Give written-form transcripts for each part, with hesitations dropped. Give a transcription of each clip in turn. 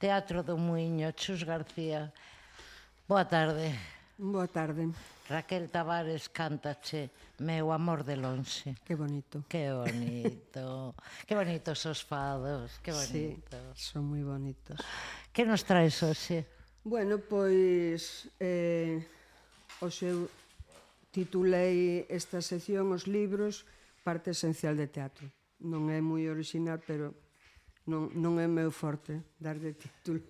Teatro do Muiño, Chus García. Boa tarde. Boa tarde. Raquel Tavares cántache Meu amor de lonxe. Que bonito. Que bonito. Que bonitos os fados, que bonito. Sí, son moi bonitos. Que nos traes hoxe? Bueno, pois hoxe eu titulei esta sección Os libros, parte esencial de teatro. Non é moi original, pero non é meu forte dar de título.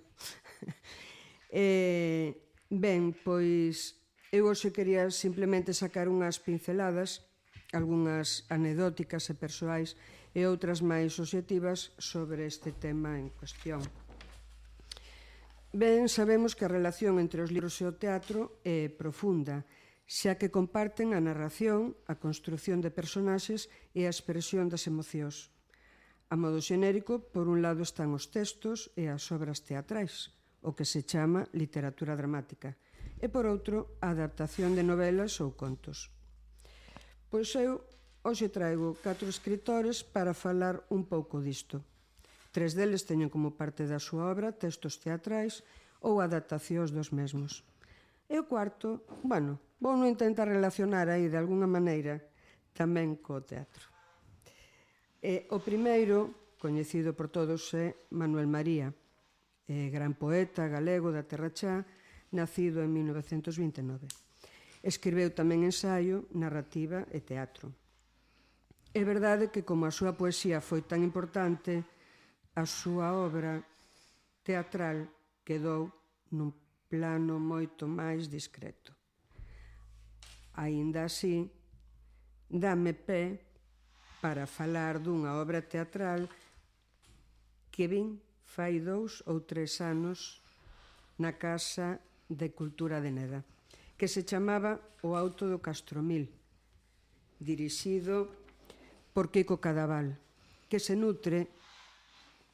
Ben, pois eu hoxe quería simplemente sacar unhas pinceladas, algunhas anecdóticas e persoais e outras máis obxectivas sobre este tema en cuestión. Ben, sabemos que a relación entre os libros e o teatro é profunda, xa que comparten a narración, a construción de personaxes e a expresión das emocións. A modo xenérico, por un lado están os textos e as obras teatrais, o que se chama literatura dramática, e por outro, a adaptación de novelas ou contos. Pois eu hoxe traigo 4 escritores para falar un pouco disto. 3 deles teñen como parte da súa obra textos teatrais ou adaptacións dos mesmos. E o cuarto, bueno, vou non intentar relacionar aí de alguna maneira tamén co teatro. O primeiro, coñecido por todos, é Manuel María, gran poeta galego da Terra Chá, nacido en 1929. Escribeu tamén ensaio, narrativa e teatro. É verdade que, como a súa poesía foi tan importante, a súa obra teatral quedou nun plano moito máis discreto. Aínda así, dame pé para falar dunha obra teatral que vin fai 2 ou 3 anos na Casa de Cultura de Neda, que se chamaba O Auto do Castromil, dirixido por Quico Cadaval, que se nutre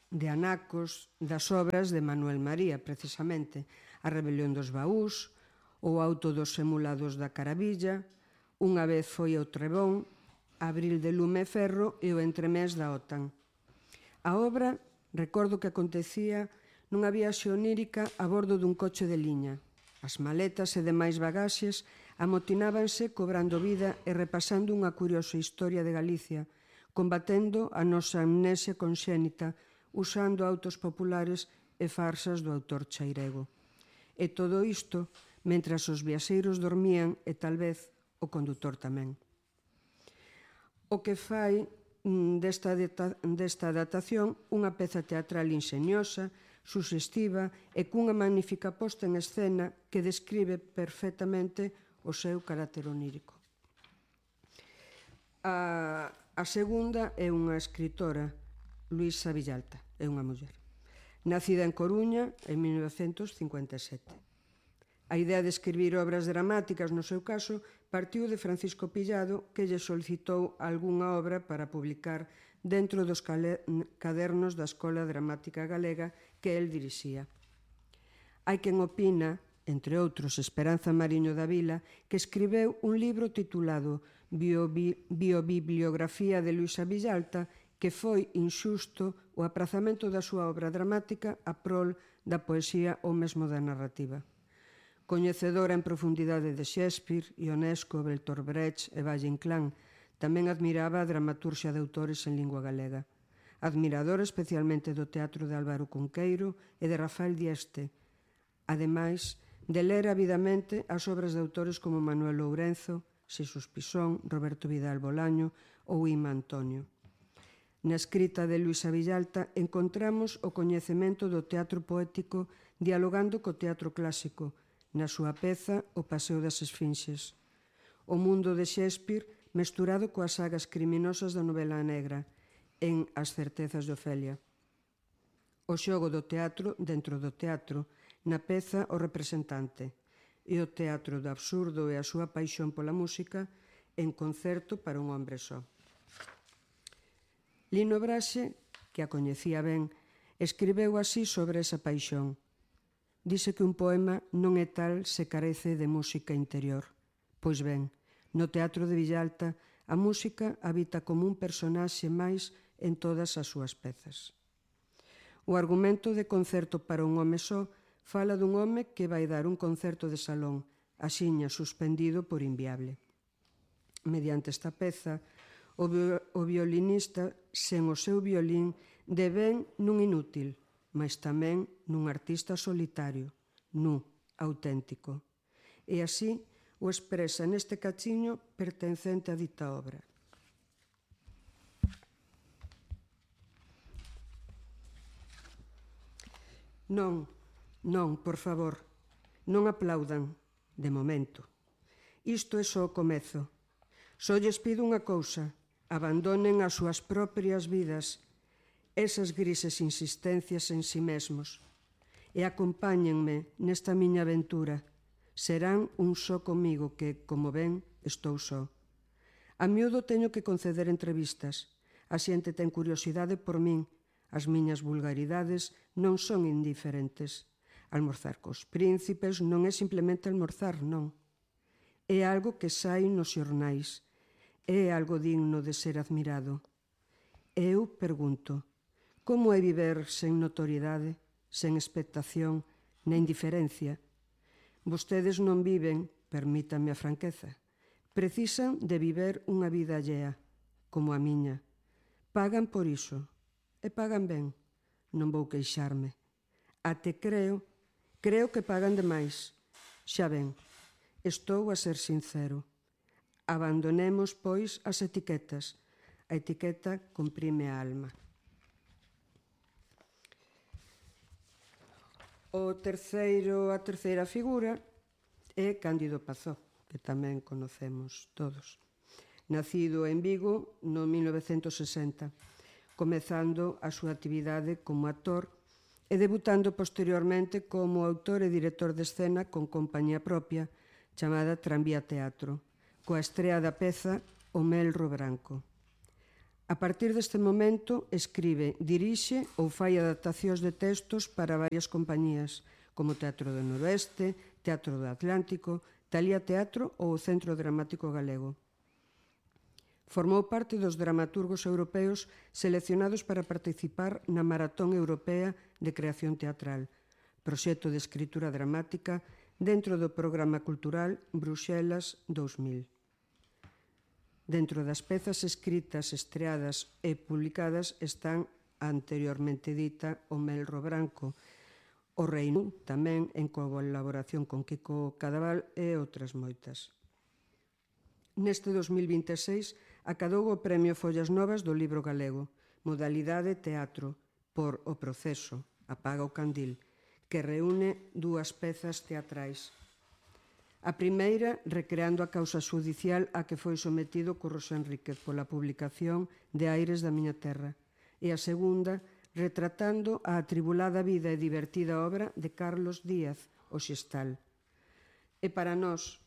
de anacos das obras de Manuel María, precisamente A Rebelión dos Baús, O Auto dos Emulados da Caravilla, Unha vez foi ao Trebón, Abril de lume e ferro e O entremés da OTAN. A obra, recordo que acontecía nunha viaxe onírica a bordo dun coche de liña. As maletas e demais bagaxes amotinábanse cobrando vida e repasando unha curiosa historia de Galicia, combatendo a nosa amnesia conxénita, usando autos populares e farsas do autor chairego. E todo isto mentras os viaxeiros dormían e tal vez o condutor tamén. O que fai desta adaptación unha peza teatral inxeniosa, suxestiva e cunha magnífica posta en escena que describe perfectamente o seu carácter onírico. A segunda é unha escritora, Luisa Villalta, é unha muller, nacida en Coruña en 1957. A idea de escribir obras dramáticas, no seu caso, partiu de Francisco Pillado, que lle solicitou algunha obra para publicar dentro dos cadernos da Escola Dramática Galega que el dirixía. Hai quen opina, entre outros Esperanza Mariño da Vila, que escribeu un libro titulado Biobibliografía de Luisa Villalta, que foi inxusto o aprazamento da súa obra dramática a prol da poesía ou mesmo da narrativa. Coñecedora en profundidade de Shakespeare, Ionesco, Bertolt Brecht e Valle Inclán, tamén admiraba a dramaturxia de autores en lingua galega. Admiradora especialmente do teatro de Álvaro Cunqueiro e de Rafael Dieste, ademais de ler avidamente as obras de autores como Manuel Lourenzo, Xesús Pisón, Roberto Vidal Bolaño ou Ima Antonio. Na escrita de Luisa Villalta encontramos o coñecemento do teatro poético dialogando co teatro clásico, na súa peza O Paseo das Esfinxes. O mundo de Shakespeare mesturado coas sagas criminosas da novela negra, en As certezas de Ofelia. O xogo do teatro dentro do teatro, na peza O Representante, e o teatro do absurdo e a súa paixón pola música en Concerto para un hombre só. Lino Braxe, que a coñecía ben, escribeu así sobre esa paixón. Dice que un poema non é tal se carece de música interior. Pois ben, no teatro de Villalta, a música habita como un personaxe máis en todas as súas pezas. O argumento de concerto para un home só fala dun home que vai dar un concerto de salón, axiña suspendido por inviable. Mediante esta peza, o violinista, sen o seu violín, devén nun inútil, mas tamén nun artista solitario, nu, auténtico. E así o expresa neste cachiño pertencente a dita obra. Non, non, por favor, non aplaudan, de momento. Isto é só o comezo. Só lles pido unha cousa, abandonen as súas propias vidas, esas grises insistencias en si mesmos, e acompáñenme nesta miña aventura. Serán un só comigo que, como ven, estou só. A miúdo teño que conceder entrevistas. A xente ten curiosidade por min. As miñas vulgaridades non son indiferentes. Almorzar cos príncipes non é simplemente almorzar, non. É algo que sai nos xornais. É algo digno de ser admirado. Eu pergunto, como é viver sen notoriedade, sen expectación, na indiferencia? Vostedes non viven, permítame a franqueza, precisan de viver unha vida allea, como a miña. Pagan por iso, e pagan ben, non vou queixarme. Até creo que pagan demais. Xa ven, estou a ser sincero. Abandonemos, pois, as etiquetas. A etiqueta comprime a alma. A terceira figura é Cándido Pazó, que tamén conocemos todos. Nacido en Vigo no 1960, comezando a súa actividade como actor e debutando posteriormente como autor e director de escena con compañía propia chamada Tranvía Teatro, coa estrea da peza O Melro Branco. A partir deste momento, escribe, dirixe ou fai adaptacións de textos para varias compañías, como Teatro do Noroeste, Teatro do Atlántico, Talía Teatro ou o Centro Dramático Galego. Formou parte dos dramaturgos europeos seleccionados para participar na Maratón Europea de Creación Teatral, proxecto de escritura dramática dentro do programa cultural Bruxelas 2000. Dentro das pezas escritas, estreadas e publicadas están a anteriormente dita O Melro Branco, O Reino, tamén en colaboración con Kiko Cadaval e outras moitas. Neste 2026 acadou o Premio Follas Novas do Libro Galego, modalidade teatro, por O Proceso, Apaga o Candil, que reúne dúas pezas teatrais. A primeira, recreando a causa xudicial a que foi sometido Curros Enríquez pola publicación de Aires da miña terra, e a segunda, retratando a atribulada vida e divertida obra de Carlos Díaz, o Xestal. E para nós,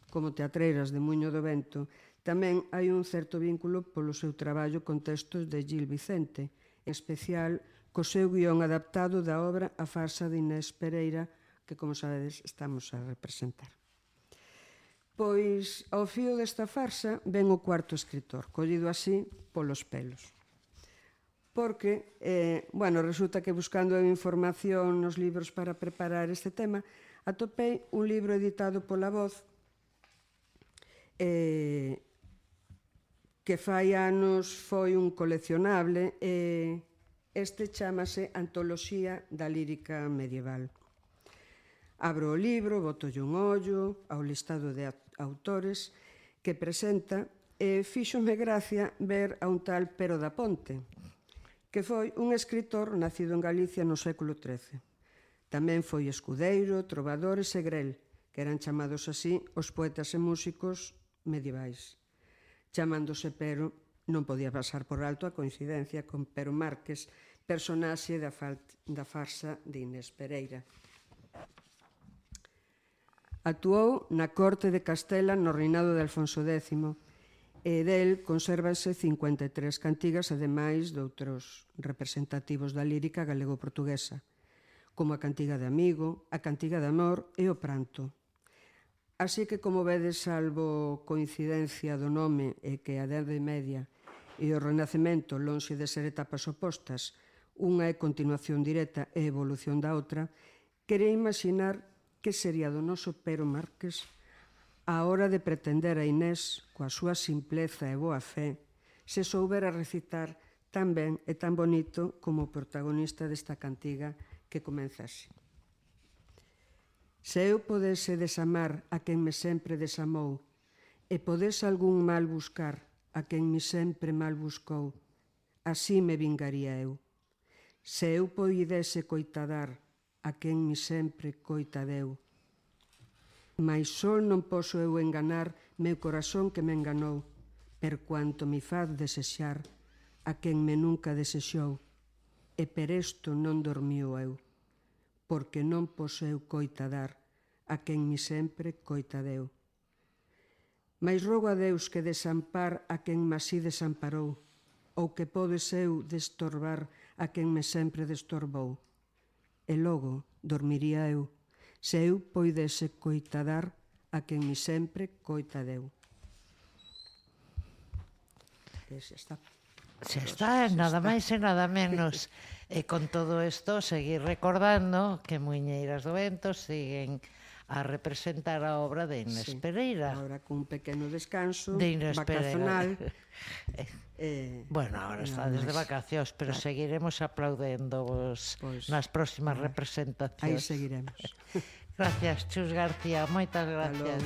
como teatreiras de Muiño do Vento, tamén hai un certo vínculo polo seu traballo con textos de Gil Vicente, en especial co seu guión adaptado da obra A farsa de Inés Pereira, que, como sabedes, estamos a representar. Pois, ao fío desta farsa, ven o cuarto escritor, collido así polos pelos. Porque, resulta que buscando información nos libros para preparar este tema, atopei un libro editado pola Voz que fai anos foi un coleccionable e este chámase Antoloxía da Lírica Medieval. Abro o libro, botolle un ollo ao listado de autores que presenta e fíxome gracia ver a un tal Pero da Ponte, que foi un escritor nacido en Galicia no século XIII. Tamén foi escudeiro, trovador e segrel, que eran chamados así os poetas e músicos medievais. Chamándose Pero, non podía pasar por alto a coincidencia con Pero Márquez, personaxe da farsa de Inés Pereira. Actuou na corte de Castela no reinado de Alfonso X e del consérvanse 53 cantigas, ademais de outros representativos da lírica galego-portuguesa, como a cantiga de amigo, a cantiga de amor e o pranto. Así que, como vedes, salvo coincidencia do nome e que a Idade Media e o Renacemento, lonxe de ser etapas opostas, unha é continuación directa e evolución da outra, quería imaginar que sería do noso Pero Márquez a hora de pretender a Inés, coa súa simpleza e boa fe, se soubera recitar tan ben e tan bonito como o protagonista desta cantiga que comeza así. Se eu podese desamar a quen me sempre desamou e podese algún mal buscar a quen me sempre mal buscou, así me vingaría eu. Se eu poidese coitadar a quen me sempre coitadeu, mais só non poso eu enganar meu corazón que me enganou, per cuanto me faz desexar a quen me nunca desexou, e per esto non dormiu eu, porque non poso eu coitadar a quen me sempre coitadeu. Mais rogo a Deus que desampar a quen me así desamparou, ou que podes eu destorbar a quen me sempre destorbou. E logo dormiría eu, se eu poidese coitadar a quen me sempre coitadeu. Xa está. Xa está, nada máis e nada menos. E con todo isto, seguir recordando que Muiñeiras do Vento siguen a representar a obra de Inés Pereira. Ahora cun pequeno descanso de Inés vacacional. Bueno, ahora está desde vacacións, pero seguiremos aplaudendo-vos nas próximas representacións. Aí seguiremos. Gracias, Chus García, moitas gracias.